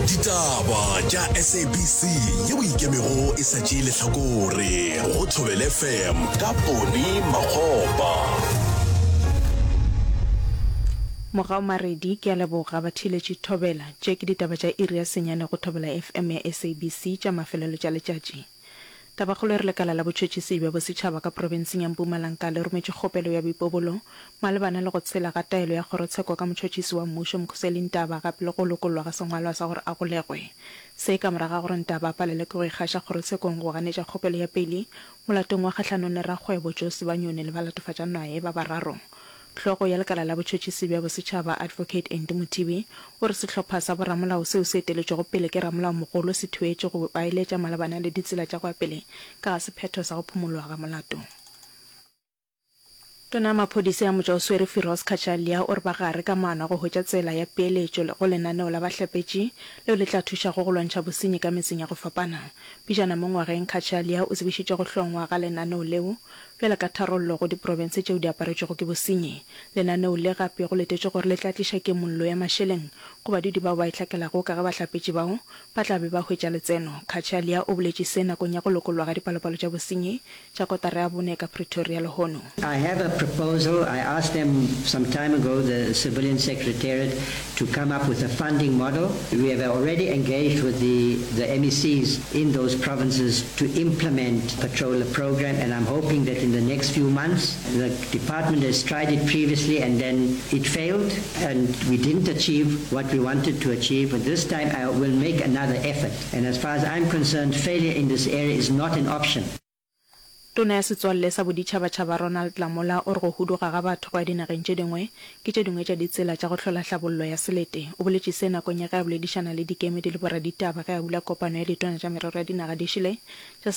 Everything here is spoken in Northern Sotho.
Ditaba tša SABC yeo e ikemego e sa tšee lehlakore go Thobela FM ka Poni Makgopa. Mogau Maredi, Ke a leboga batheeletši Thobela. Tše ke ditaba tša iri ya senyane go Thobela FM ya SABC tša mafelelo tša letšatši. Tabakgolo e re lekala la botšhotšhisi bja bosetšhaba ka profenseng ya Mpumalanga le rometše kgopelo ya boipobolo malebana le go tshela ga taelo ya kgorotsheko ka motšhotšhisi wa mmušo Mkhuseli Ntaba gape le go lokollwa ga sengwalwa sa gore a golegwe. Se ka morago ga gore Ntaba a palelwe ke go ikgaša kgorotshekong go ganetša kgopelo ya peili molatong wa kgahlanong le rakgwebo Joe Sibanyoni le balatofatšanwae ba bararo. Hlogo ya lekala la botšhotšhisi bja bosetšhaba Advocate Andy Mothibi o re sehlopha sa boramolao seo se eteletšwego pele ke ramolaomogolo se thuetše go ba eletša malebana le ditsela tša go ya pele ka ga sephetho sa go phumolwa ga molato. Tona ya maphodisa ya motšwaoswere Firoz Cachalia o re ba gare ka maano a go hwetša tsela ya peeletšo go lenaneo la bahlapetši leo le tla thušago go lwantšha bosenyi ka metseng ya go fapana. Pejana mo ngwageng Cachalia o tsebišitše go hlongwa ga lenaneo leo Bjalo ka tharollo go diprofense tšeo di aparetšwego ke bosenyi, lenaneo le gape go letetšwe gore le tla tliša kemollo ya mašeleng go badudi bao ba e hlakelago ka ge bahlapetši bao ba tla be ba hwetša letseno. Cachalia o boletše se nakong ya go lokollwa ga dipalopalo tša bosenyi tša kotara ya bone ka Pretoria lehono. I have a proposal, I asked them some time ago, the civilian secretariat, to come up with a funding model. We have already engaged with the, the MECs in those provinces to implement patroller program and I'm hoping that in the next few months, the department has tried it previously and then it failed and we didn't achieve what we wanted to achieve, but this time I will make another effort. And as far as I'm concerned, failure in this area is not an option. Tona ya Setswalle sa Boditšhabatšhaba Ronald Lamola o re go huduga ga batho go ya dinageng tše dingwe ke tše dingwe tša ditsela tša go hlola hlabollo ya selete. O boletše se nakong ya ge a boledišana le dikemedi le boraditaba ge a bula kopano ya ditona tša merero ya dinaga di šele tša.